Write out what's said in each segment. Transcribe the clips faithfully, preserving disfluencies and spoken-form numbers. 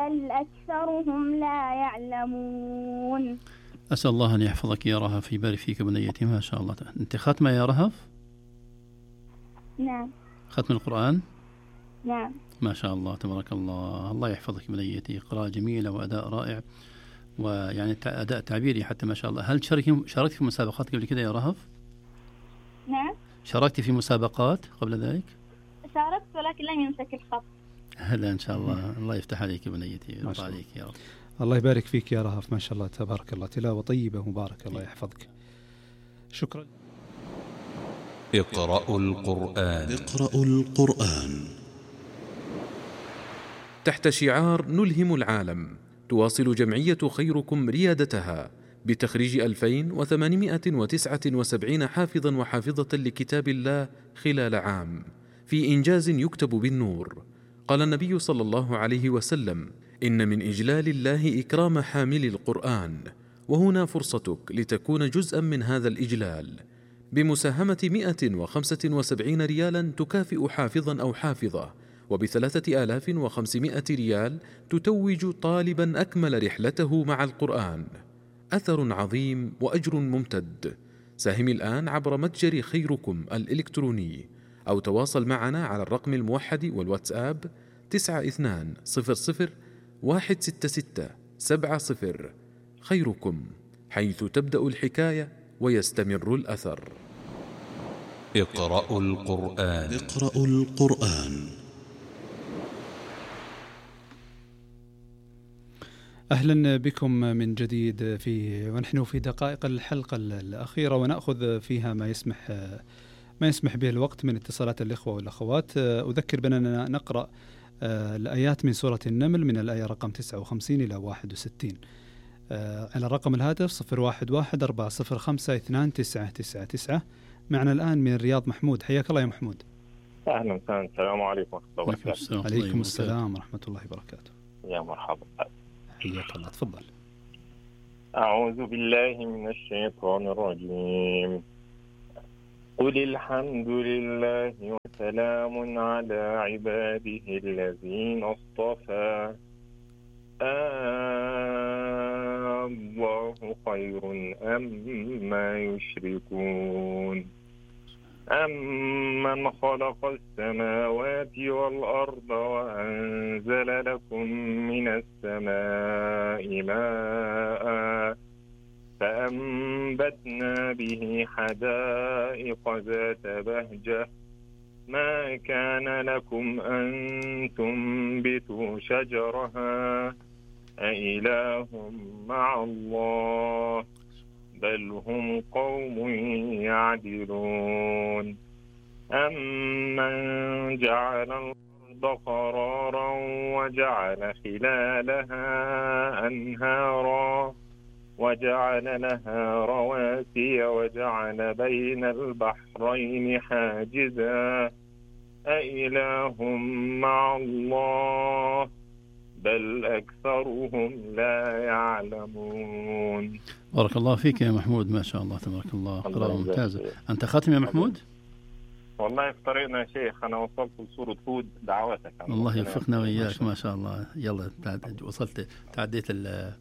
بل أكثرهم لا يعلمون. أسأل الله أن يحفظك يا رهف، يبارك فيك بنيتي، ما شاء الله. أنت ختمة يا رهف؟ نعم. ختم القرآن؟ نعم. ما شاء الله تبارك الله. الله يحفظك بنيتي، قراءة جميلة وأداء رائع، ويعني أداء تعبيري حتى ما شاء الله. هل شاركت في مسابقات قبل كده يا رهف؟ نعم. شاركت في مسابقات قبل ذلك؟ شاركت ولكن لم يمسك الخط. هلا إن شاء الله. الله يفتح عليك بنيتي، يرضى عليك يا رب. الله يبارك فيك يا رهف، ما شاء الله تبارك الله، تلاوة طيبة مباركة، الله يحفظك. شكرا. اقرأوا القرآن. اقرأوا القرآن. تحت شعار نلهم العالم، تواصل جمعية خيركم ريادتها بتخريج ألفين وثمانمائة وتسعة وسبعين حافظا وحافظة لكتاب الله خلال عام، في إنجاز يكتب بالنور. قال النبي صلى الله عليه وسلم: إن من إجلال الله إكرام حامل القرآن، وهنا فرصتك لتكون جزءا من هذا الإجلال بمساهمة مئة وخمسة وسبعين ريالا تكافئ حافظا أو حافظة، وبثلاثة آلاف وخمسمائة ريال تتوج طالبا أكمل رحلته مع القرآن. أثر عظيم وأجر ممتد. ساهم الآن عبر متجر خيركم الإلكتروني، أو تواصل معنا على الرقم الموحد والواتساب تسعة اثنان صفر صفر واحد ستة ستة سبعة صفر. خيركم، حيث تبدأ الحكاية ويستمر الأثر. اقرأوا القرآن. اقرأوا القرآن. أهلا بكم من جديد في ونحن في دقائق الحلقة الأخيرة، ونأخذ فيها ما يسمح ما يسمح به الوقت من اتصالات الإخوة والأخوات. أذكر بأننا نقرأ الآيات من سورة النمل من الآية رقم تسعة وخمسين إلى واحد وستين على رقم الهاتف صفر واحد واحد أربعة صفر خمسة اثنان تسعة تسعة تسعة. معنا الآن من الرياض محمود. حياك الله يا محمود. أهلا وسهلا. السلام عليكم ورحمة الله وبركاته. عليكم السلام ورحمة الله وبركاته. يا مرحبا. حياك الله، تفضل. أعوذ بالله من الشيطان الرجيم. قل الحمد لله وسلام على عباده الذين اصطفى الله خير أما يشركون أمن خلق السماوات والأرض وأنزل لكم من السماء ماء فأنبتنا به حدائق ذات بهجة ما كان لكم أن تنبتوا شجرها أإله مع الله بل هم قوم يعدلون أمن جعل الأرض قرارا وجعل خلالها أنهارا وجعل لها رواسي وجعل بين البحرين حاجزا أإله مع الله بل أكثرهم لا يعلمون. بارك الله فيك يا محمود، ما شاء الله تبارك الله، قراءة ممتازة. أنت خاتم يا محمود؟ والله في طريقنا يا شيخ، أنا وصلت لسورة هود دعواتك. الله يوفقنا وإياك، ما شاء الله. يلا وصلت، تعديت ال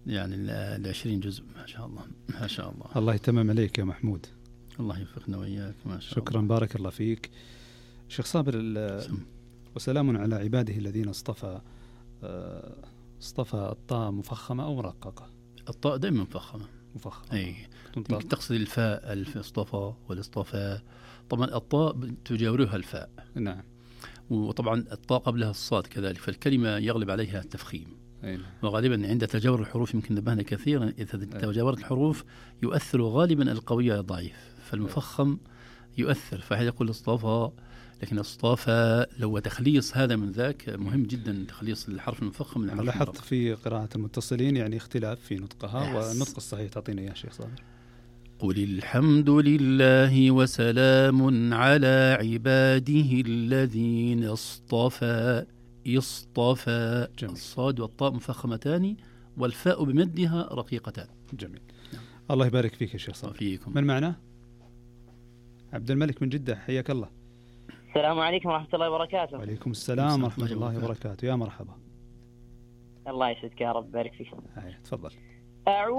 يعني العشرين جزء، ما شاء الله ما شاء الله. الله يتمم عليك يا محمود. الله يوفقنا وإياك، ما شاء شكرا الله. بارك الله فيك شيخ صابر. وسلام على عباده الذين اصطفى. اصطفى الطاء مفخمة أو مرققة؟ الطاء دائما مفخمة. مفخمة. أي تقصد الفاء، الف اصطفى والاصطفاء. طبعا الطاء تجاورها الفاء. نعم. وطبعا الطاء قبلها الصاد كذلك، فالكلمة يغلب عليها التفخيم. أي. وغالبا عند تجاور الحروف يمكن نبهنا كثيرا، إذا تجاورت الحروف يؤثر غالبا القوي على الضعيف، فالمفخم يؤثر، فهذا يقول اصطفى. لكن اصطفى لو تخليص هذا من ذاك مهم جدا، تخليص الحرف المفخم من الحرف المرقق. لاحظت في قراءة المتصلين يعني اختلاف في نطقها، والنطق الصحيح تعطينا يا شيخ صابر. قل الحمد لله وسلام على عباده الذين اصطفى. اصطفى. جميل. الصاد والطاء مفخمتان والفاء بمدها رقيقتان. جميل. نعم. الله يبارك فيك يا شيخ صابر. فيكم. من معنا؟ عبد الملك من جدة، حياك الله. السلام عليكم ورحمة الله وبركاته. وعليكم السلام ورحمة الله وبركاته. يا مرحبا. الله يسعدك يا رب، بارك فيك. هاي تفضل. أعوذ